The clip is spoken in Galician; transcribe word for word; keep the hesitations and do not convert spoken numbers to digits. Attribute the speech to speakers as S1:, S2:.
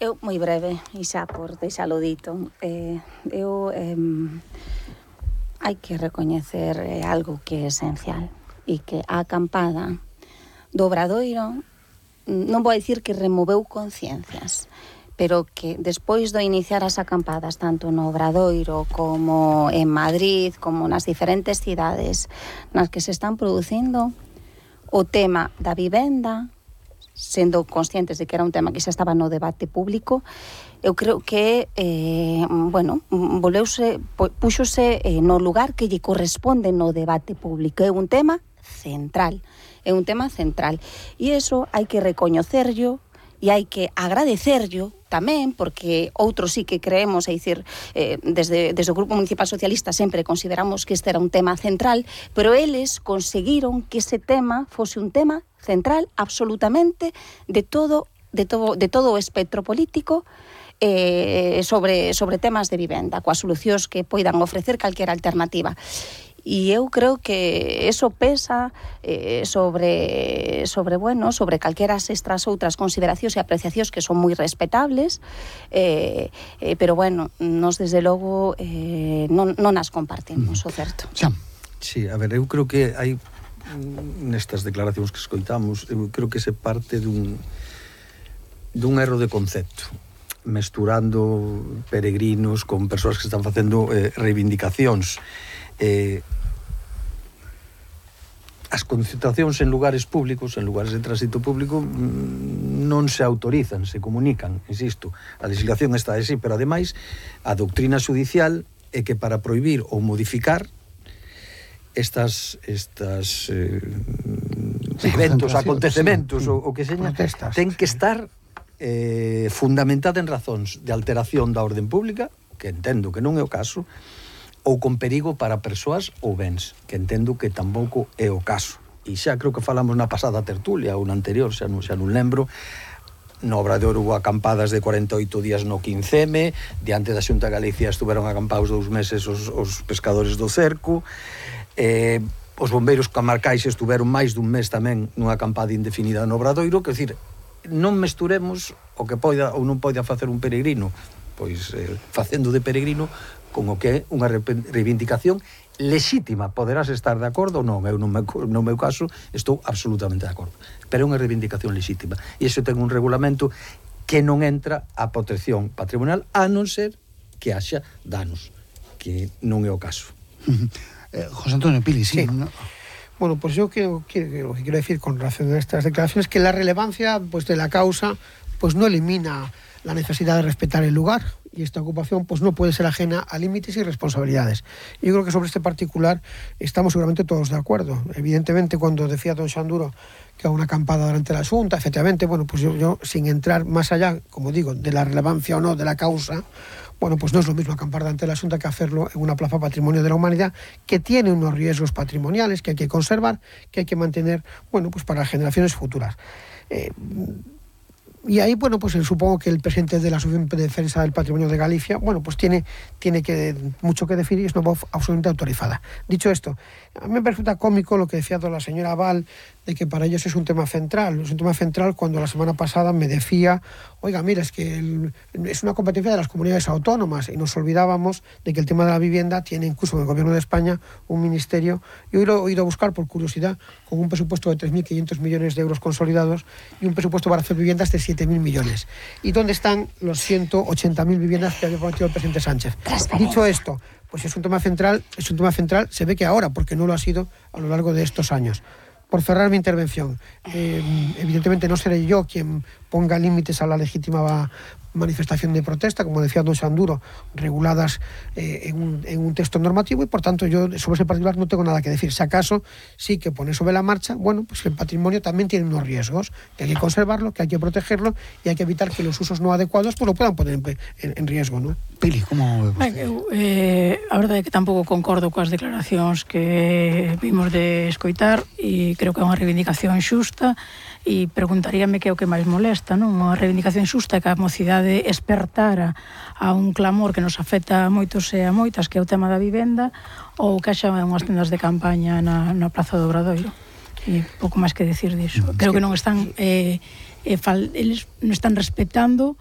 S1: Eu, moi breve, e xa por deixalo dito, eh, eu eh, hai que recoñecer eh, algo que é esencial, e que a acampada do Obradoiro non vou dicir que removeu conciencias, pero que despois de iniciar as acampadas tanto no Obradoiro como en Madrid, como nas diferentes cidades nas que se están producindo, o tema da vivenda, sendo conscientes de que era un tema que xa estaba no debate público, eu creo que eh, bueno, voleuse, puxose eh, no lugar que lle corresponde no debate público. É un tema central, é un tema central, e iso hai que recoñecerlo e hai que agradecerlo tamén, porque outros sí que creemos, é dicir, eh, desde, desde o Grupo Municipal Socialista sempre consideramos que este era un tema central, pero eles conseguiron que ese tema fose un tema central absolutamente de todo, de todo, de todo o espectro político, eh, sobre, sobre temas de vivenda, coas solucións que poidan ofrecer calquera alternativa. E eu creo que eso pesa eh, sobre, sobre, bueno, sobre calqueras estas outras consideracións e apreciacións que son moi respetables, eh, eh, pero, bueno, nos desde logo eh, non, non as compartimos, o certo.
S2: Xa.
S3: Sí, a ver, eu creo que hai nestas declaracións que escoitamos, eu creo que se parte dun dun erro de concepto, mesturando peregrinos con persoas que están facendo eh, reivindicacións. Eh, as concentracións en lugares públicos, en lugares de tránsito público, non se autorizan, se comunican, insisto. A legislación está así, pero ademais a doutrina judicial é que para prohibir ou modificar estas estas eh, eventos, acontecementos, sí, o, o que seña, ten que estar eh, fundamentada en razóns de alteración da orden pública, que entendo que non é o caso, ou con perigo para persoas ou bens, que entendo que tampouco é o caso. E xa creo que falamos na pasada tertulia ou na anterior, xa non, xa non lembro. No Obradoiro hubo acampadas de cuarenta e oito días no quince eme, diante da Xunta de Galicia estuveron acampados dous meses os, os pescadores do cerco, eh, os bombeiros camarcais estuveron máis dun mes tamén nunha acampada indefinida no Obradoiro, que decir, non mesturemos o que poida ou non poida facer un peregrino, pois eh, facendo de peregrino, con o que é unha reivindicación lexítima. Poderás estar de acordo ou non, eu no meu, no meu caso estou absolutamente de acordo, pero é unha reivindicación lexítima, e iso ten un regulamento que non entra a protección patrimonial, a non ser que haxa danos, que non é o caso.
S2: eh, José Antonio Pili, sí,
S4: sí.
S2: ¿no?
S4: Bueno, pues yo creo que lo que quiero decir con relación a estas declaraciones es que la relevancia pues de la causa pues no elimina la necesidad de respetar el lugar, y esta ocupación pues no puede ser ajena a límites y responsabilidades. Yo creo que sobre este particular estamos seguramente todos de acuerdo. Evidentemente, cuando decía don Xanduro que a una acampada durante la Xunta, efectivamente, bueno, pues yo, yo sin entrar más allá, como digo, de la relevancia o no de la causa, bueno, pues no es lo mismo acampar delante de la Xunta que hacerlo en una plaza patrimonio de la humanidad, que tiene unos riesgos patrimoniales que hay que conservar, que hay que mantener, bueno, pues para las generaciones futuras. Eh, Y ahí, bueno, pues supongo que el presidente de la Asociación de Defensa del Patrimonio de Galicia, bueno, pues tiene, tiene que, mucho que decir, y es una voz absolutamente autorizada. Dicho esto, a mí me resulta cómico lo que decía la señora Val, de que para ellos es un tema central. Es un tema central cuando la semana pasada me decía, oiga, mira, es que el, es una competencia de las comunidades autónomas, y nos olvidábamos de que el tema de la vivienda tiene incluso en el Gobierno de España un ministerio, y hoy lo he ido a buscar por curiosidad, con un presupuesto de tres mil quinientos millones de euros consolidados y un presupuesto para hacer viviendas de siete mil millones. ¿Y dónde están los ciento ochenta mil viviendas que había prometido el presidente Sánchez? Dicho esto, pues es un tema central, es un tema central, se ve que ahora, porque no lo ha sido a lo largo de estos años. Por cerrar mi intervención, eh, evidentemente no seré yo quien ponga límites a la legítima manifestación de protesta, como decía don Xanduro, reguladas eh, en, un, en un texto normativo, y por tanto yo sobre ese particular no tengo nada que decir. Si acaso sí que pone sobre la marcha, bueno, pues el patrimonio también tiene unos riesgos, que hay que conservarlo, que hay que protegerlo, y hay que evitar que los usos no adecuados pues lo puedan poner en, en, en riesgo, ¿no?
S2: Pili, como...
S5: Ben, eu, eh, a verdade é que tampouco concordo coas declaracións que vimos de escoitar, e creo que é unha reivindicación xusta, e preguntaríame que é o que máis molesta, non? Unha reivindicación xusta que a mocidade espertara a un clamor que nos afecta a moitos e a moitas, que é o tema da vivenda, ou que haxa unhas tendas de campaña na, na Praza do Obradoiro. E pouco máis que decir disso. Creo que non están eh, eh, fal, eles non están respetando